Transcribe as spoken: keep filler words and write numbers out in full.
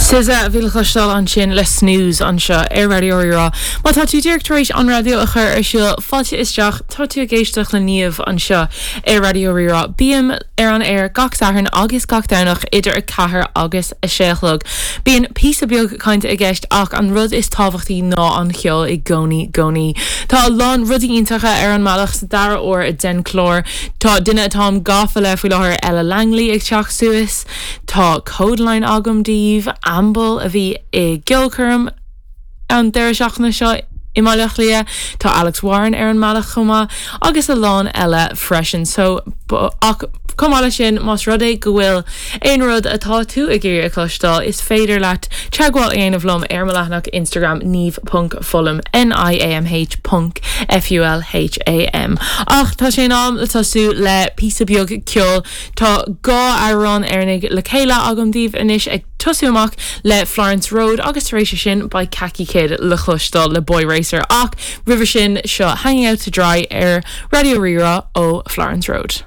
SZA a bhí le cloisteáil ansin le Snooze anseo ar Raidió Rí-Rá. Má tá tú díreach tar éis an raidió a chur ar siúl fáilte isteach tá tú ag éisteacht le Niamh anseo ar Raidió Rí-Rá. Bím ar an aer gach Satharn agus gach Domhnach idir a ceathair agus a sé a chlog. Bíonn píosa beag cainte i gceist ach an rud is tábhachtaí ná an ceol i gcónaí gcónaí. Tá a lán rudaí iontacha ar an mbealach sa dara huair den chlár Tá duine atáim gafa le faoi láthair Ella Langley ag teacht suas, Tá Kodaline agam daoibh Amble a bhí i gceolchoirm an deireadh seachtaine seo i mBaile Átha Cliath, Tá Alex Warren ar an mbealach chomh maith agus a lán eile freisin so ach chomh maith leis sin más rud é go bhfuil aon rud atá tú ag iarraidh a chloisteáil is féidir leat teagmháil a dhéanamh liom ar mo leathanach Instagram niamh.fulham NIAMH ponc FULHAM. Ach tá sé in am le tosú le píosa beag ceoil Tá dhá amhrán Éireannaigh le chéile agam daoibh anois ag tosú amach le Florence Road agus tar éis sin beidh Kaki Kid le cloisteáil le Boy Racer ach roimhe sin seo hanging out to dry ar Raidió Rí-Rá ó Florence Road.